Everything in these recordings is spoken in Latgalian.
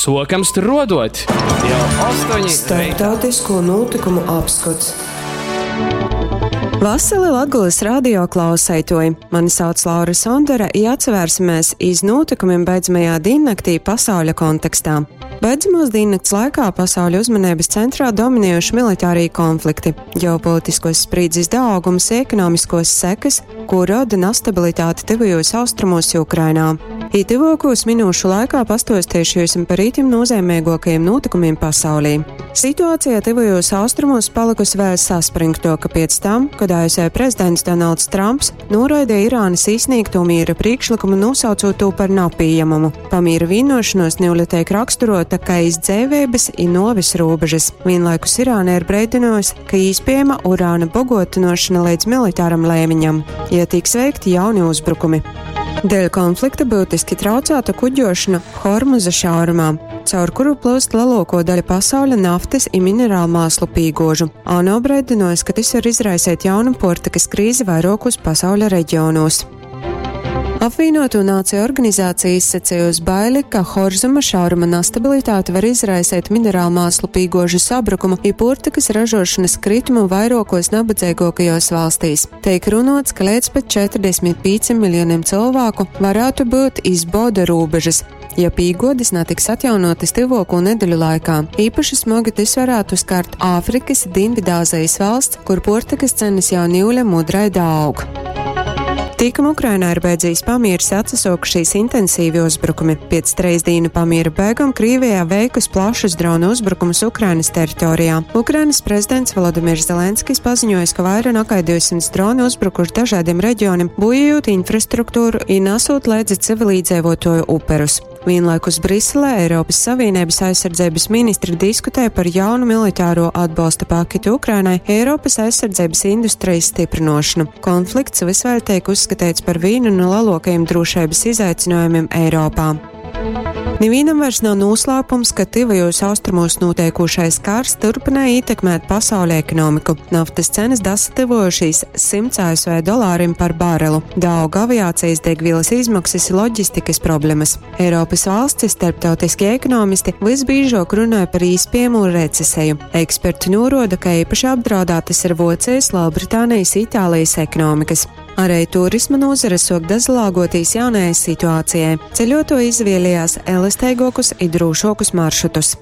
Sokam struodot! Jau 8 reitā. Starptautisko nūtykumu apskots. Vasali Latgolys radio klauseituoji! Mani sauc Laura Sondore i atsavērsimies iz nūtykumim beidzamajā dīnnaktī pasauļa kontekstā. Beidzamās dīnnakts laikā pasauļa uzmaneibys centrā dominējuši militārī konflikti, ģeopolitiskos sprīdzis daaugums i ekonomiskuos sekys, kū roda nastabilitāte Tyvajūs Austrumūs i Ukrainā. I tyvuokūs minūšu laikā pastuosteišu jiusim par itim nūzeimeiguokajim nūtykumim pasaulī. Situācija Tyvajūs Austrumūs palykusi vēļ saspryngtuoka piec tam, kod ASV prezidents Donalds Trumps nūraideja Irānys īsnīgtū mīra prīkšlykumu, nūsaucūt tū par napījemamu. Pamīra vīnuošonuos niule teik raksturuota kai iz dzeiveibys i nuovis rūbežys. Vīnlaikus Irāna ir breidynuojusi, ka īspiejama urāna boguotynuošona leidz militaram leimiņam, ja tiks veikti jauni uzbrukumi. Dēļ konflikta byutiski traucāta kuģošana Hormuza šaurumā, caur kuru plūst leluokuo daļa pasauļa naftys i mineralmāslu pīguožu. ANO breidynuojs, ka tys var izraiseit jaunu puortykys krīzi vairuokūs pasauļa reģionūs. Apvīnuotū Nāciju Organizācija izsacejusi baili, ka Horzuma šauruma nastabilitāte var izraiseit mineralmāslu pīguožu sabrukumu i puortykys ražuošonys kritumu vairuokuos nabadzeiguokajuos valstīs. Teik runuots, ka leidz pat 45 miljonim cylvāku varātu byut iz boda rūbežys, ja pīguodis natiks atjaunuotys tyvuokū nedeļu laikā. Īpaši smogi tys varātu skart Āfrikys i Dīnvidāzejis valsts, kur puortykys cenys jau niule mudrai daaug. Tikam Ukrainā ir beidzīs pamieris, atsasuokušīs intensīvi uzbrukumi. Piec treisdīnu pamiera beigom Krīvejā veikus plašus dronu uzbrukumus Ukrainas teritorijā. Ukrainas prezidents Volodimirs Zelenskis paziņojis, ka vaira nakai 200 droni uzbrukuši dažādiem reģionim, bojājot infrastruktūru i nasūt leidzi civilīdzeivuotuoju uperus. Vienlaikus Briselē Eiropas Savienības aizsardzības ministri diskutē par jaunu militāro atbalsta paketu Ukrainai, Eiropas aizsardzības industrijas stiprinošanu. Konflikts vys vēļ teik uzskateits par vīnu nu leluokajim drūšeibys izaicinojumim Eiropā. Nivīnam vairs nav nūslāpums, ka Tyvajūs Austrumūs nūteikūšais kars turpināja ietekmēt pasauļa ekonomiku. Naftas cenas dasatyvojušīs 100 ASV dolārim par barelu. Daug aviācijas degvielas izmaksas i loģistikas problemas. Eiropas valstis, starptautiskie ekonomisti vysbīžuok runoj par īspiejamū receseju. Eksperti nūruoda, ka eipaši apdraudātys ir Vuocejis, Lelbritānejis i Itālejis ekonomikys. Arei turisma nūzare suok dasalāguotīs jaunajai situācijai. Ceļuotuoji izvieliejās elasteiguokus i drūšuokus maršrutus.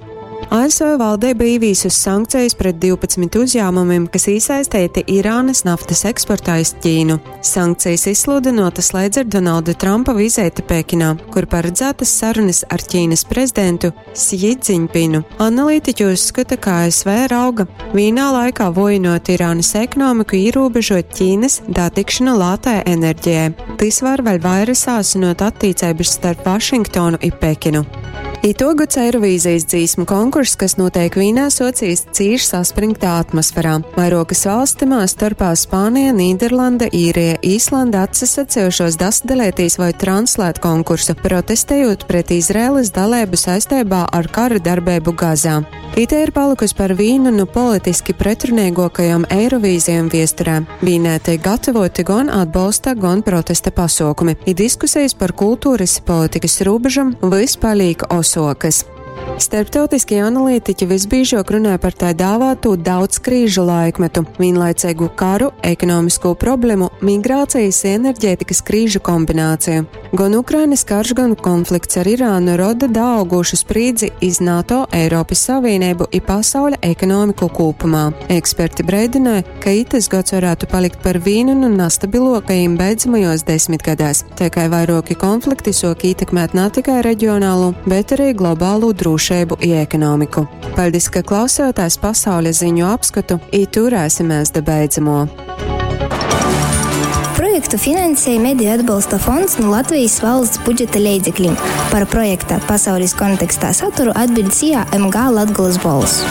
ASV valdība īvīsus sankcijas pret 12 uzņēmumiem, kas īsaisteiti Irānas naftas eksportā iz Ķīnu. Sankcijas izsludinotas leidz ar Donalda Trumpa vizīti Pekinā, kur paredzētas sarunas ar Ķīnas prezidentu Sji Dziņpinu. Analītiķi uzskata, ka ASV rauga vīnā laikā vojinot Irānas ekonomiku, ierobežot Ķīnas datikšanu lātai enerģijai. Tys var vēļ vaira sāsinot attīceibys starp Vašingtonu i Pekinu. Ituogods Eirovīzijas dzīsmu konkurss, kas nūteik Vīnē, suocīs cīši saspryngtā atmosferā. Vairuokys valsts tymā storpā Spānija, Nīderlande, Īrija, Īslande atsasacejušuos dasadaleitīs voi translēt konkursu, protestejūt pret Izraēlys daleibu saisteibā ar kara darbeibu Gazā. Itei ir palykusi par vīnu nu politiski pretruneiguokajom Eirovīzejom viesturē. Vīnē teik gatavoti gon atbolsta, gon protesta pasuokumi, i diskusejis par kulturys i politikys rūbežom vys palīk osuokys. Starptautiskie analītiķi visbīžuok runoj par tai dāvātū daudzkrīžu laikmetu, vīnlaiceigu karu, ekonomiskū problemu, migrācijas i enerģētikas krīžu kombināciju. Gon Ukrainas karš, gan konflikts ar Irānu roda daaugūšu sprīdzi iz NATO, Eiropys Savīneibu i pasauļa ekonomiku kūpumā. Eksperti breidynoj, ka itys gods varātu palikt par vīnu nu nastabiluokajim beidzamajuos desmitgadēs, tai kai vairuoki konflikti suok ītekmēt na tikai reģionālū, bet ari globālū drūšeibu i ekonomiku. Paļdis, ka klausējotēs pasauļa ziņu apskotu i turēsimēs da beidzamuo. Projektu finansēja Mediju atbalsta fonds nu Latvejis valsts budžeta leidzeklim. Par projekta Pasaulis kontekstā saturu atbiļd SIA MG Latgolys Bolss.